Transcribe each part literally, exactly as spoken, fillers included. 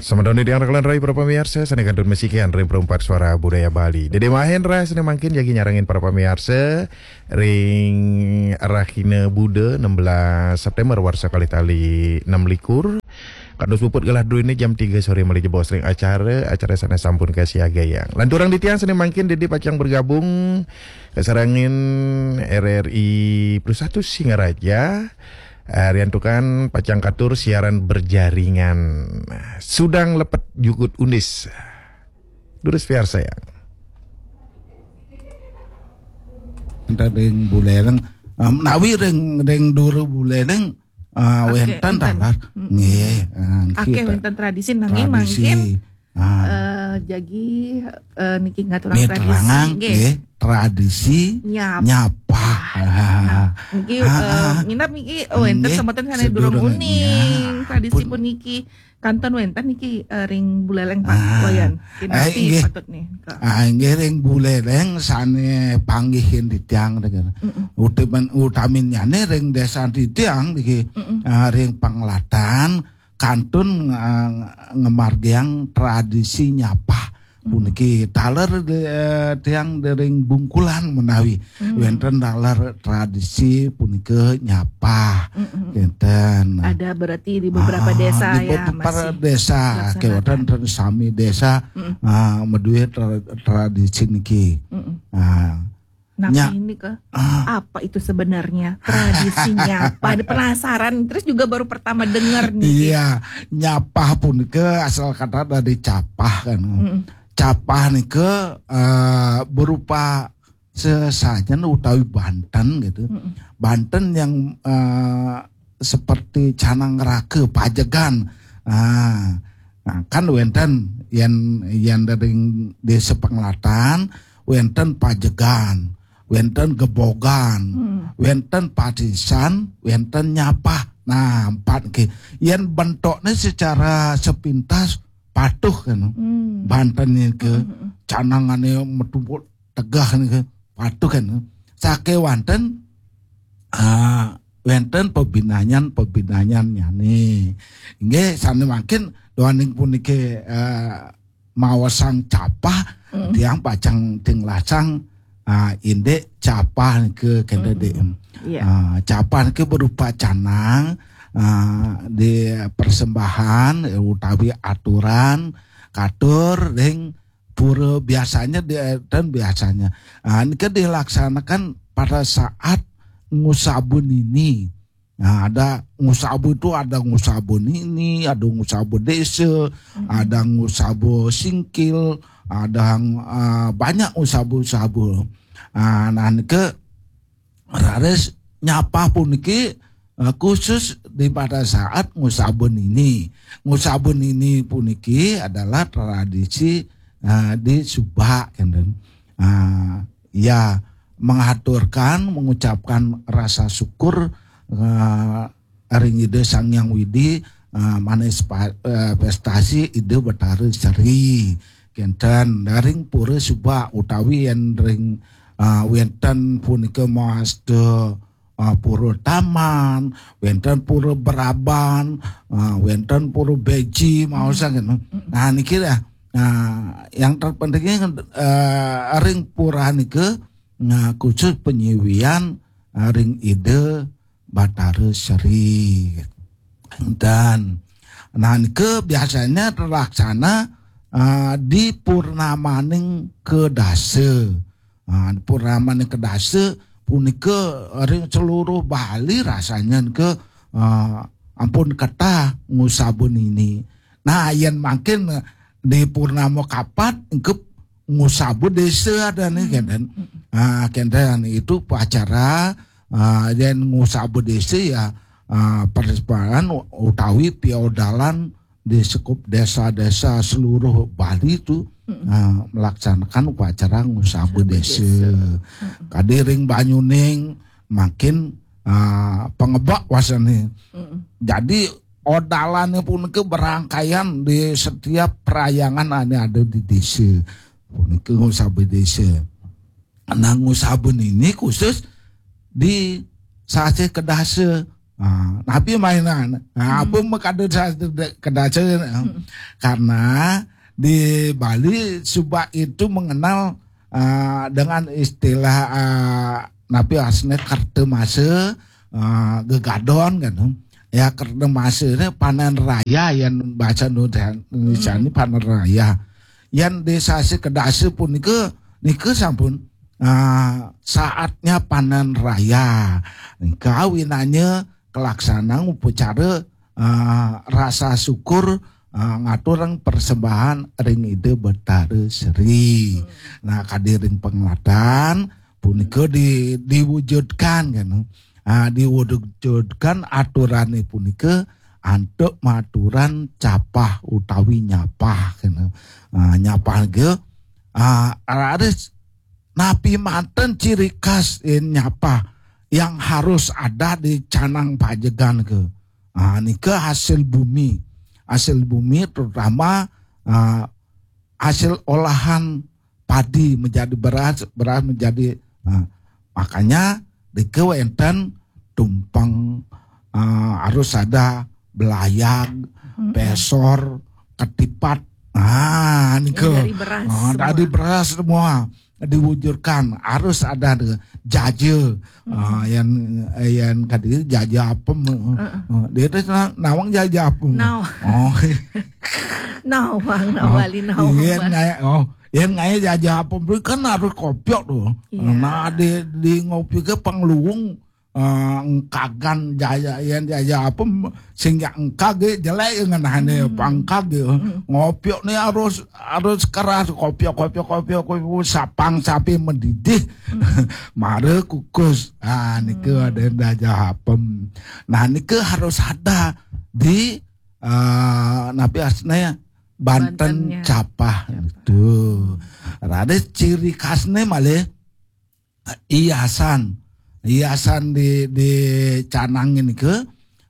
Selamat tahun di tiang rakalan rai para pamiarsa, sané kantun masikian ring Perumpak Suara Budaya Bali. Dédé Mahendra sané mangkin jagi nyarengin para pamiarsa ring rahina Buda enam belas September warsa kalih tali enam likur. Kados puput gelah druéné jam tiga soré malih jebos ring acara, acara sané sampun kasiagayang. Lanturang di tiang sané mangkin Dédé pacang bergabung kasarengin R R I Pusat Singaraja. Eh, riantukan pacang katur siaran berjaringan. Sudang lepet jukut undis. Durus piarsayang. Ring Buleleng, eh, menawi ring, ring Dura Buleleng, eh, wénten taler. Nggih, eh, nggih, wénten tradisi nanging mangkin, eh, jagi, eh, niki ngaturang tradisi, nggih, tradisi nyapah. Nah, niki, eh, minab niki, eh, wénten semeton sané durung uning tradisi puniki. Kantun wénten niki, eh, ring Buleleng, Pak Wayan. Kinasti patut nika. Ah, inggih, ring Buleleng sané panggihin titiang, utamin, utaminnyané ring désa titiang niki, ah, ring Panglatan kantun, ah, ngamargiang tradisi nyapah. Puniki taler, eh, tiang ring Bungkulan menawi wénten taler tradisi punika nyapah. Kénten. Ada berarti di beberapa desa di ya, beberapa desa, kéwénten sami desa, ah, madué tra-, tradisi niki. Ah, napi nika, apa itu sebenarnya tradisinya? Pada penasaran, terus juga baru pertama dengar nih. Iya, nyapah punika asal kata dari capah kan. Capah nika, eh, berupa sesajen utawi banten gitu. Banten yang, eh, seperti canang raga pajegan. Ah, nah, kan wénten yén, yén ring Désa Panglatan, wénten pajegan, wénten gebogan, wénten patisan, wénten nyapah. Nah, empat nggih. Yén bentukné secara sepintas patuh kan. Banten niki canangané metu tegah niki patuh kan. Sakéwanten, ah, wénten pabinayan-pabinayannyané. Inggih, sané mangkin duaning puniki, eh, maosang capah, tiang pacang tinglasang, ah, indik capah nika kénten, Dék. Iya. Ah, capah nika berupa canang, ah, di persembahan, eh, utawi aturan katur ring pura biasanya di, dan biasanya. Ah, nika dilaksanakan pada saat ngusaba nini. Nah, ada ngusaba itu, ada ngusaba nini, ada ngusaba désa, ada ngusaba singkil, ada, ah, banyak ngusaba-ngusaba. Ah, nah, nika raris nyapah puniki, eh, khusus di pada saat ngusaba nini. Ngusaba nini puniki adalah tradisi, eh, di Subak, kénten. Ah, ya, mengaturkan, mengucapkan rasa syukur, eh, ring Ida Sang Hyang Widi, eh, manifestasi Ida Betara Sri. Kénten, ring Pura Subak utawi yén ring, eh, wénten punika mawasta, ah, Pura Taman, wénten Pura Beraban, ah, wénten Pura Beji, maosang gitu. Nah, niki dah. Nah, yang terpentingnya, eh, ring pura nika, nah, khusus panyiwian, eh, ring Ida Batara Sri. Dan, nah, nika biasanya terlaksana, eh, di purnamaning kedasa. Ah, purnamaning kedasa punika ring seluruh Bali rasanya nika, ah, ampun ketah ngusaba nini. Nah, yén mangkin di purnama kapat engké ngusaba désa adané, kénten. Ah, kénten itu upacara, ah, yén ngusaba désa ya, ah, persembahan utawi piodalan di sekup desa-desa seluruh Bali itu, ah, melaksanakan upacara ngusaba désa. Kadi ring Banyuning mangkin, ah, pangebek wastané. Jadi odalané punika berangkaian di setiap perayaan ané ada di désa. Punika ngusaba désa. Nah, ngusaba nini khusus di sasih kedasa. Ah, napi mainan? Ah, apa makada sa-, kedasa? Karena di Bali suba itu mengenal, ah, dengan istilah, ah, napi asne kerta masa, ah, gegadon kan. Ya, kerta masa ni panen raya yang bahasa Indonesia ni panen raya. Yang di sasi kedasa punika, nika sampun, ah, saatnya panen raya. Nika awinannya kelaksanaan upacara, ah, rasa syukur, ah, ngaturang persembahan ring Ida Betara Sri. Nah, kadi ring penglatan punika di, diwujudkan kan. Ah, diwujudkan aturane punika antuk maturan capah utawi nyapah kan. Ah, nyapah ke, ah, raris napi manten ciri khas, eh, nyapah yang harus ada di canang pajegan ke. Ah, nika hasil bumi. Hasil bumi terutama, ah, hasil olahan padi menjadi beras, beras menjadi, ah, makanya nika wenten tumpeng, ah, harus ada belayag, pesor, ketipat. Ah, nika. Yang dari beras Ah, semua. Dari beras semua diwujudkan harus ada de-, jaja. Ah, yang, yang kadi jaja apem. Ah, dia tu na-, nawang jaja apem. Naw. Oh. Nawang, nawali, nawang. Iya, ngai, oh, iya, ngai jaja apem. Beli kan harus kopiok tu. Iya. Nah, di, di ngopi ke pangluung, ah, engkagan jaja, yang jaja apem, sehingga engkag, eh, jelek ngenahane pangkag, eh. Ngopiok ni harus, harus keras, kopiok, kopiok, kopiok, kopiok, sapang sapi mendidih. Mara kukus. Ah, nika ada jaja apem. Nah, nika harus ada di, ah, napi asne banten Bantennya. Capah itu. Ada ciri khasnya malih hiasan. Hiasan di, di canang ini ke,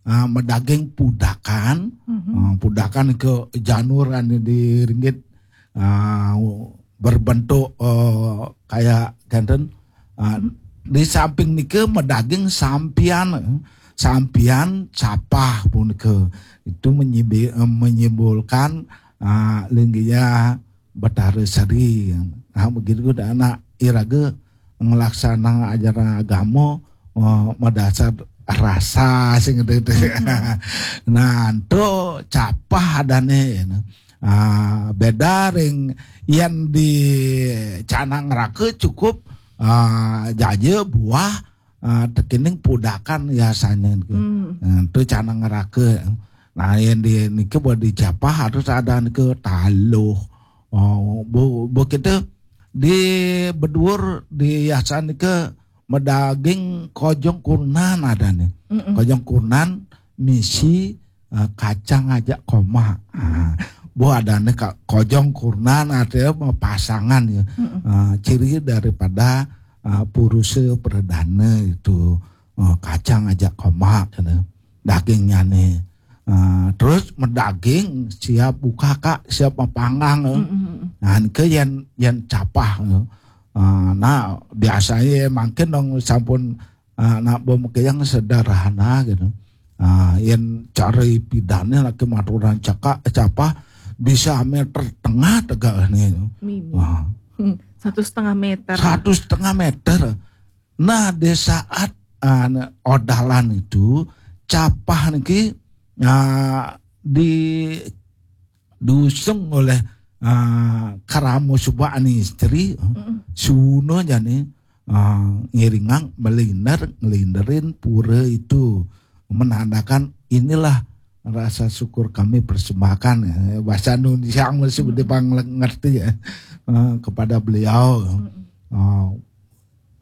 ah, medaging pudakan. Ah, pudakan ke janur anu di ringgit, ah, berbentuk, eh, kayak kenten. Ah, di samping nika medaging sampian, eh, sampian capah punika. Itu menyimbi-, eh, menyimbolkan, ah, linggihnya Betara Sari. Nah, begitu dah anak iraga ngelaksanang ajaran agama, eh, madasar rasa sing gitu. Nah, itu capah adane. Ah, beda ring yang di canang raka cukup, ah, jaja buah, ah, tekening pudakan biasanya gitu. Hmm. Nah, itu canang raka. Nah, yang di niki buat di capah harus ada niki taluh. Oh, bu, bu kita di beduur di yasan niki medaging kojong kurnan ada nih. Mm-mm. Kojong kurnan misi, eh, kacang aja koma. Ah, bu ada nih ka-, kojong kurnan ada pasangan ya. Mm-mm. Ah, ciri daripada, ah, purusa perdana itu. Ah, kacang aja koma gitu. Dagingnya nih. Ah, terus medaging siap buka kak, siap mapanggang, eh. Mm-mm. Nah, ke yang, yang capah, eh. Ah, nah, biasanya mungkin dong sampun, ah, nak pemikiran sederhana gitu. Ah, yang cari pidannya lagi maturan cakak, capah bisa meter tengah tegak nih. Mimi. Wah. Hmm, satu setengah meter. Satu setengah meter. Nah, di saat, ah, odalan itu, capah niki, ah, di, diusung oleh, ah, Karamo Subak ani istri, eh, suno jani, ah, ngiringang meliner, ngelinderin pura itu, menandakan inilah rasa syukur kami persembahkan, eh, bahasa Indonesia masih ngerti ya, eh, kepada beliau. Ah,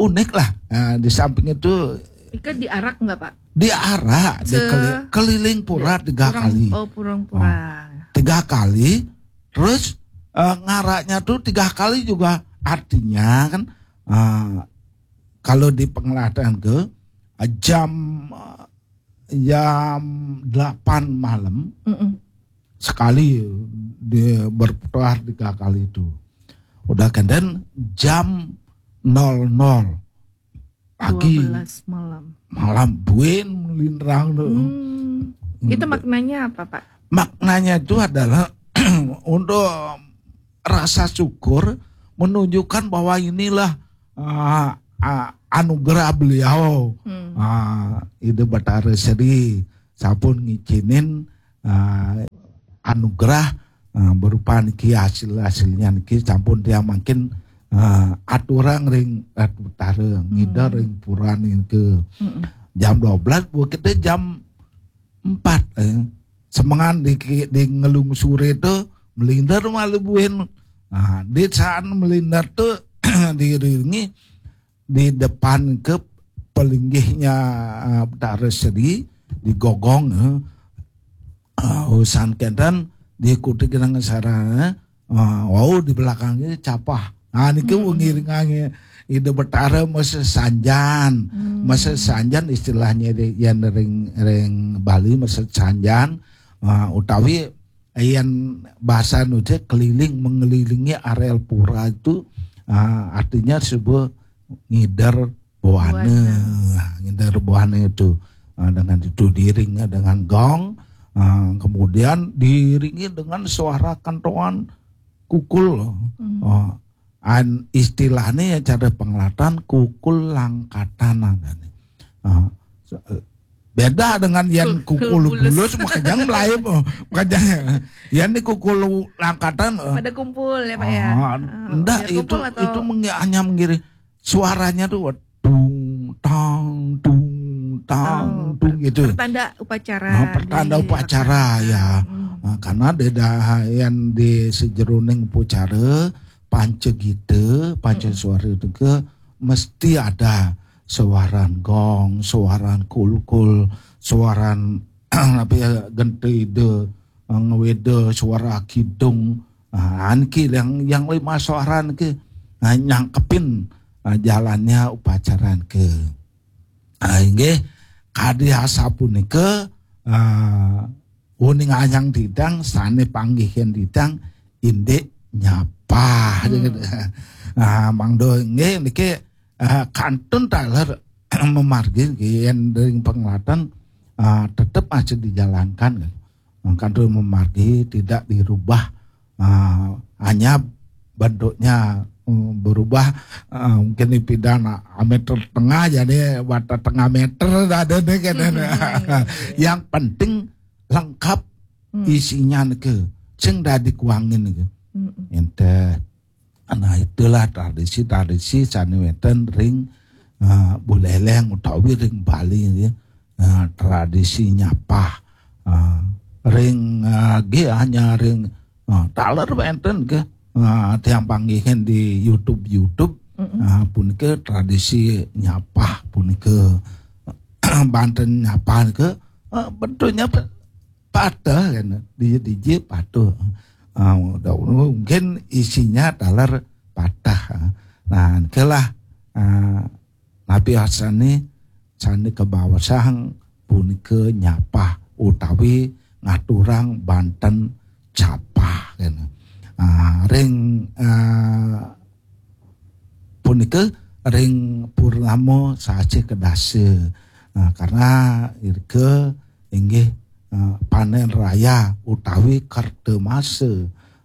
unik lah. Nah, di samping itu ika diarak nggak, Pak? Diarak, se- dikeli-, keliling pura tiga kali. Oh, pura-pura. Ah, tiga kali. Terus, eh, ngaraknya tuh tiga kali juga. Artinya kan, eh, kalau di penglihatan ke, eh, jam, eh, jam delapan malam, mm-mm, sekali dia berputar tiga kali itu. Udah kenten jam nol nol pagi. Dua belas malam. malam buin melindrang tuh. Hmm. Itu maknanya apa, Pak? Maknanya itu adalah untuk rasa syukur, menunjukkan bahwa inilah uh, uh, anugerah beliau, Hmm. uh, Ida Batara Seri, sampun ngicinin uh, anugerah uh, berupa niki hasil hasilnya niki sampun dia makin uh, aturang ring Ratu Batara, ngidar ring pura niki. Mm-mm. Jam dua belas, buat kita jam empat, eh. Semengan di, di ngelungsure itu melindar malu buin. Nah, di saat melindar tuh diiringi di depan ke pelinggihnya uh, Batara Seri di gogong, eh. Uh, usan kenten diikuti dengan sarana, uh, wow, di belakangnya capah. Nah, niki Hmm. ngiringannya Ida Batara masa sanjan. Hmm. Masa sanjan istilahnya di yang ring ring Bali masa sanjan, uh, utawi yang bahasa nuja keliling, mengelilingi areal pura itu, uh, artinya sebuah ngider buana. Buana. Nah, ngider buana itu, uh, dengan itu diiringnya dengan gong, uh, kemudian diiringi dengan suara kentongan kukul. Hmm. Uh, an istilahnya ya cara pengelatan kukul langkatan adanya. Uh, se- beda dengan yang Kukul kukul bulus. bulus makanya melayu, oh, makanya yang ini kukul langkatan, uh, Pada kumpul ya, Pak, ya. Ah, Ah, ndak, biar itu kumpul atau itu mengi- hanya mengiring suaranya tuh dung tang dung tang Oh, dung gitu. Pertanda upacara. Nah, pertanda di- upacara, ya. Hmm. Nah, karena ada yang di sejeroning upacara panca gita, panca Mm-mm. suara itu ke mesti ada suaran gong, suaran kulkul, suaran apa ya, gentida, ngweda, suara kidung. Nah, anki yang yang lima suaran ke, nah, nyangkepin, nah, jalannya upacaran ke. Nah, inggih kadi asapunika, ah, uning ayang didang sane panggihin didang indik nyapah. Hmm. Nah, mangdo inggih niki, ah, kantun taler memargi nggih yen ring penglatan, ah, tetep aja dijalankan kan. Kantun memargi tidak dirubah, ah, hanya bentuknya, mm, berubah, ah, mungkin di pidan, ah, meter tengah jadi wadah tengah meter ada nih kan. Hmm, iya, iya, iya. Yang penting lengkap Hmm. Isinya niki sing dadi kuangin niki. Mm-mm. Enten. Nah, itulah tradisi-tradisi sane wenten ring, eh, Buleleng utawi ring Bali nggih. Eh, tradisi nyapah. Eh, ring, eh, nggih hanya ring, eh, taler wenten ke, eh, tiang panggihin di YouTube, YouTube. Mm-mm. Eh, punika tradisi nyapah punika banten nyapah ke, eh, bentuknya pe- patah kan, dije-dije patuh. Ah, mungkin isinya taler patah. Nah, kelah, ah, napi asane sane kebawasang punika nyapah utawi ngaturang banten capah kan. Ah, ring, ah, punika ring purnama sasih kedasa. Nah, karena irga inggih, eh, panen raya utawi kerta masa.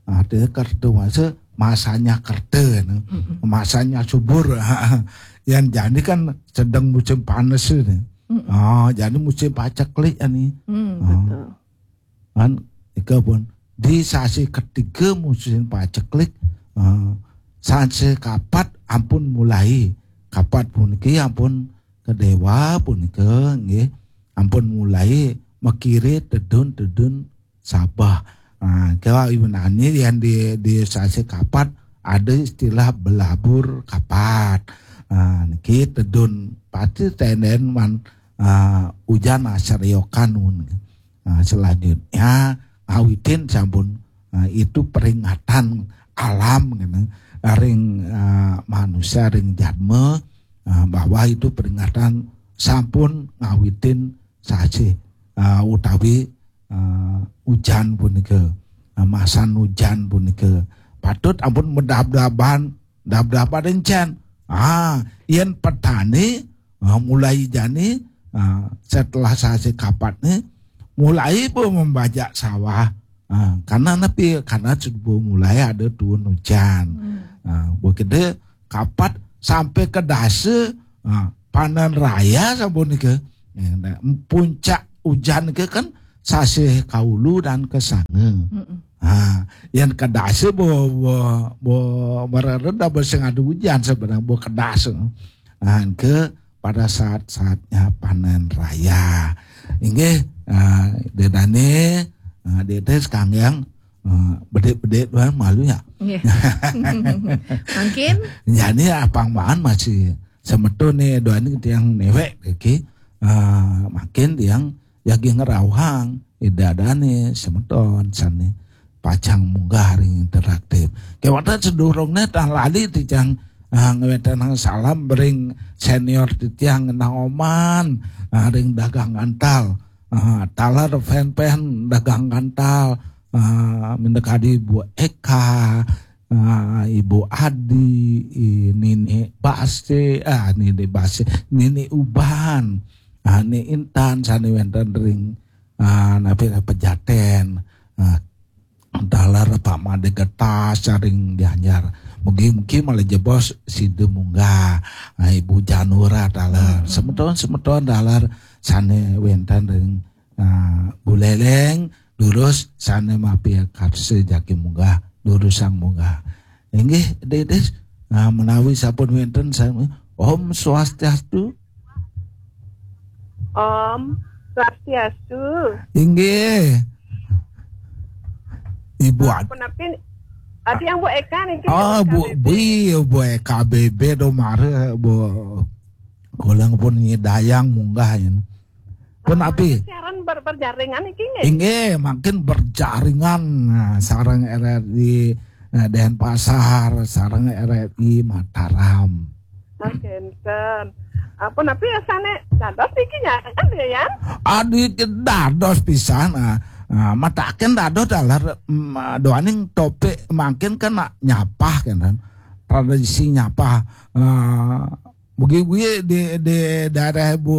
Artinya kerta masa, masanya kerta, nah. Mm-mm. Masanya subur. Yang jani kan sedang musim panas ini. Mm-mm. Ah, jadi musim paceklik ini. Hmm, Ah. betul. Kan ika pun di sasi ketiga musim paceklik, eh, sasi kapat ampun mulai. Kapat puniki ampun kedewa punika nggih ampun mulai makire tedun-tedun sabah. Nah, kalau iwinani yang di di sasi kapat ada istilah belabur kapat. Nah, niki tedun pati tenden man, ah, ujan asariokan. Nah, selanjutnya ngawitin sampun, nah, itu peringatan alam gitu. Ring, ah, manusia ring jadma, ah, bahwa itu peringatan sampun ngawitin sasi, ah, utawi, ah, ujan punika, ah, masan ujan punika patut ampun medab-daban, dab-daban encan. Ah, yen petani, ah, mulai jani Ah, setelah sasih kapat nih, mulai bo membajak sawah. Ah, karena napi, karena sudah mulai ada turun hujan. Ah, bo kede kapat sampai ke dasa, ah, panen raya sabun ke. Eh, nah, puncak hujan ke kan sasih kaulu dan kesanga. Ah, yang kedasa bo, bo, bo mereret dah bo sing ada hujan sebenarnya bo kedas. Ah, ke pada saat-saatnya panen raya. Inggih, ah, dedane, ah, dede sekalian, ah, bedik-bedik doang malu ya. Nggih. Mungkin. Jadi apang maan masih semeton nih doang tiang newek, oke. Ah, makin tiang jagi ngerauhang, idadane semeton sane pacang munggah ring interaktif. Kewatan sedurungne tah lali titiang, ah, ngwetenang salam bering senior titiang ngenah oman, ah, ring dagang antal. Ah, taler fan-fan dagang antal, ah, minta kadi Bu Eka, ah, Ibu Adi, i, Nini Base, ah, Nini Base, Nini Uban, ah, Ni Intan, sane wenten ring, ah, napi Pejaten, ah, taler Pak Made Getas saring Gianyar. Mugi-mugi malah jebos sida munggah, ah, Ibu Janura taler. Semeton-semeton taler sane wenten ring, ah, Buleleng, durus sane mapi karsa jagi munggah, durusang munggah. Inggih, Dedis, ah, menawi sampun wenten sami. Om Swastiastu. Om Swastiastu. Inggih. Ibu Ad- Punapi, ati yang Bu Eka niki, Oh, Bu, Bu K B B. Bu, Bu Eka B B do mare, Bu. Kula pun nyidayang munggah yen. Punapi. Siaran ber-, berjaringan iki nggih? Inggih, makin berjaringan, nah, sareng R R I, eh, Denpasar, sareng R R I Mataram. Oh, kenten. Ah, punapi asane dados niki nyaken ya, Yan? Adi dados pisan, ah, ah, mataken dados dalar, mm, doaning topik mangkin kan nak nyapah kan, tradisi nyapah. Ah, mugi-mugi di, di daerah Bu,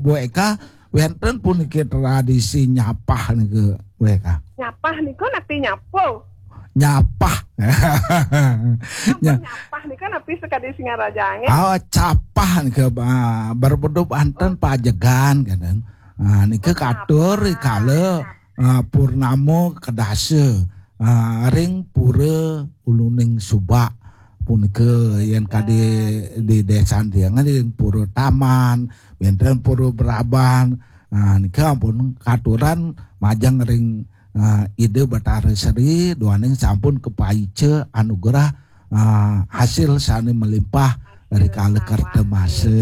Bu Eka wenten puniki tradisi nyapah niki, Bu Eka. Nyapah niku napi nyapu? Nyapah. Ampun, nyapah nika napi sekadi Singaraja nggih? Ah, capah nika, ah, berbentuk anten pajegan kadang. Ah, nika katur rikala, ah, purnama kedasa, ah, ring Pura Uluning Subak punika yen kadi di desa tiang ring Pura Taman, wenten Pura Braban. Ah, nika ampun katuran majeng ring, ah, Ida Batara Sri, duaning sampun kapaica anugerah, ah, hasil sane melimpah rikala kerta masa,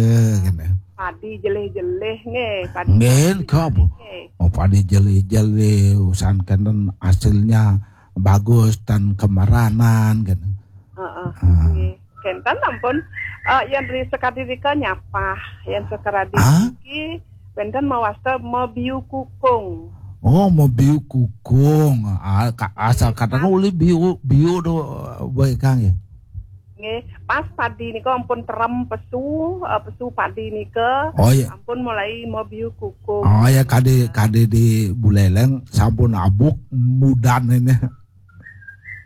kene. Padi jelih-jelih nggih, padi. Nggih, jelih-jelih nggih. Oh, padi jelih-jelih, usan kenten hasilnya bagus dan kemeranan, kene. Heeh, nggih. Kenten ampun, eh, yen ri sekadi rika nyapah, yen sekadi niki wenten mawasta mabiu kukung. Oh, mabiu kukung. Ah, ka-, asal kata ulih biu, biu do, baik kang ya. Nggih, pas padi nika ampun terem pesu, eh, pesu padi nika. Oh, iya. Ampun mulai mabiu kukung. Oh, ya, kadi, kadi di Buleleng sampun abuk mudan ini.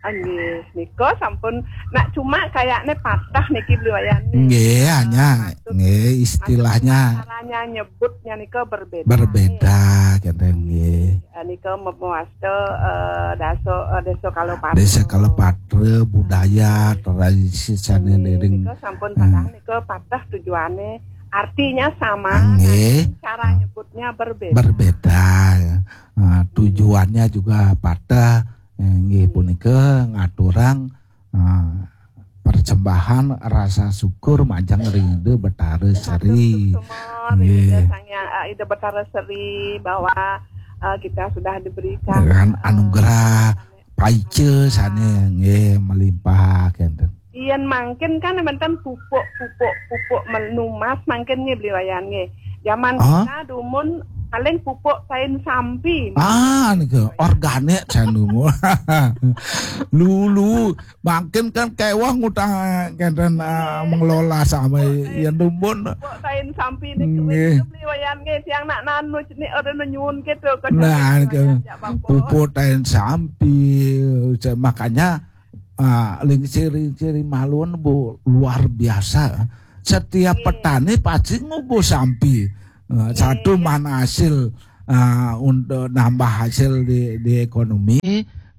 Ah, nggih, nika sampun nak cuma kayakne patah niki Bli Wayan. Nggih, hanya, nggih, istilahnya. Caranya nyebutnya nika berbeda. Berbeda, kenten nggih. Eh, nika me-, mewasta, eh, daso, eh, Desa Kalopatra. Desa Kalopatra, budaya, tradisi sane niring. Nika sampun patah nika patah tujuane, artinya sama, nggih, tapi cara nyebutnya berbeda. Berbeda, ya. Ah, tujuannya juga patah. Eh, nggih, punika ngaturang, ah, persembahan rasa syukur majeng ring Ida Betara Sri. Suksma, ring Ida Sang Hyang, eh, Ida Betara Sri bahwa, eh, kita sudah diberikan, dengan, eh, anugerah paica sane nggih melimpah kenten. Yen mangkin kan wenten pupuk, pupuk, pupuk menumas mangkin nggih Bli Wayan nggih. Zaman kita dumun Paling pupuk tain sampi. Ah, niku organik jane. Lulu, mangkin kan kewah ngutang kenten ah, mengelola sama ya dumun. Pupuk tain sampi niku Nggih. Beli Wayan nggih tiang nak nanu nih ora nyuwun gitu. Nah, niku pupuk tain sampi. Makanya ah, lingsir-lingsir maluan bu luar biasa. Setiap petani pasti nganggo sampi. Ah, satu mana hasil ah, untuk nambah hasil di, di ekonomi.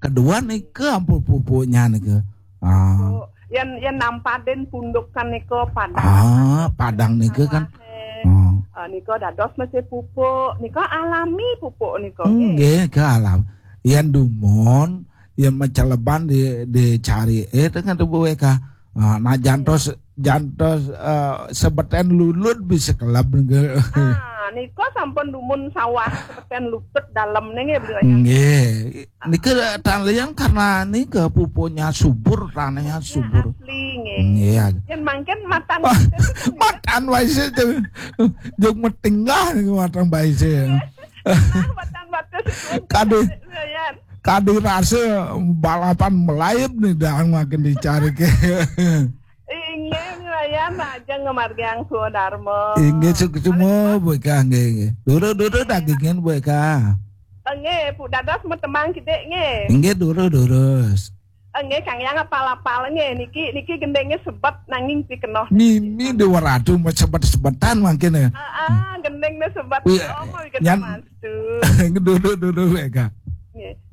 Kedua niku ampun pupuknya niku. Ah. Yen yen nampadin pundukan niku padang. Ah, padang niku kan. Sawahe. Hmm. Ah, niku dados mesti pupuk, niku alami pupuk niku. Nggih. Nggih, ke alam. Yen dumun, yen maceleban di dicari eh dengan tubuh W K. Ah, nah jantos jantos eh, sebeten lulut bisa kelab niku. Ah, niku sampun dumun sawah sepeten luput dalem nih nggih beli Wayan. Nggih. Niku tan liyang karena niku pupuknya subur, tanahnya subur. Asli nggih. Nggih. Yen mangkin matan Matan wae sih tuh. Jog metinggah niku matan wae sih. Matan batas. Kadih Wayan. kadih rasa balapan melayep nih dah makin dicari ke. Inggih Wayan ajeng ngamargiang swadarma. Inggih suksma Bu Eka nggih nggih. Durus-durus dagingan Bu Eka. Nggih, Bu dados metembang kidik nggih. Inggih durus-durus. Nggih, Kang Yang apal-apal nggih niki niki gendenge sebet nanging pikenoh. Mimi dua ratu sebet-sebetan mangkin ya. Ah, gendeng ne sebet. Iya, Oh, my nyan- mastu. Durus-durus Bu Eka.